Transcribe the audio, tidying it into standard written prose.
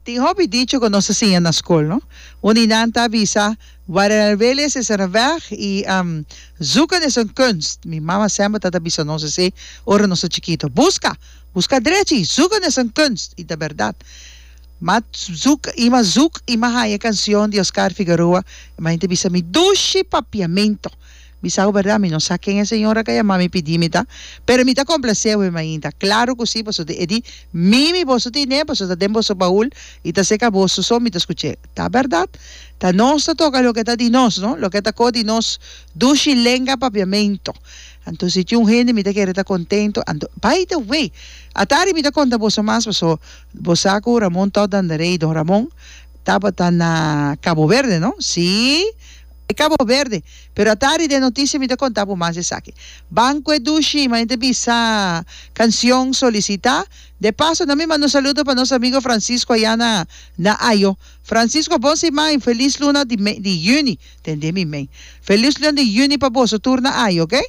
Tin hopi dicho ku nos a siña na skol, no? Un di nan ta bisa, Waar er een wil is, is er een weg i Zoeken is een kunst. Mi mama semper ta ta bisa nos esei ora nos ta chikito. Buska! Buska drechi! Zoeken is een kunst! I ta bèrdat. M'a zoek i m'a zoek i m'a haña e kansion di Oscar Figueroa i m'a henter bisa mi dushi papiamento. Mi sa ku bèrdat mi no sa ken e señora ka yama mi pidi mi ta, pero mi ta komplasé awe mainta. Klaru ku si, pasobra e di, Mimi, boso tine, pasobra ta den boso baul i ta seka boso so mi ta skuch'é. Ta bèrdat, ta nos ta toka loke ta di nos, no? Loke ta ko di nos dushi lenga papiamentu. Anto si tin un hende mi ta kere ta kontentu, anto, by the way, atari mi ta konta boso mas, pasobra bo sa ku Ramon Todd Dandaré i Don Ramon tabata na Cabo Verde, no? Sí. E Cabo Verde. Pero atari den noticia mi ta conta bo mas esaki. Banco e dushi, ma ta bisa cancion solicita. De paso na mi manda un saludo pa nos amigo Francisco aya na na Ayo. Francisco bon siman y feliz luna di di juni. Tende mi men. Feliz luna di juni pa boso tur na Ayo, ok?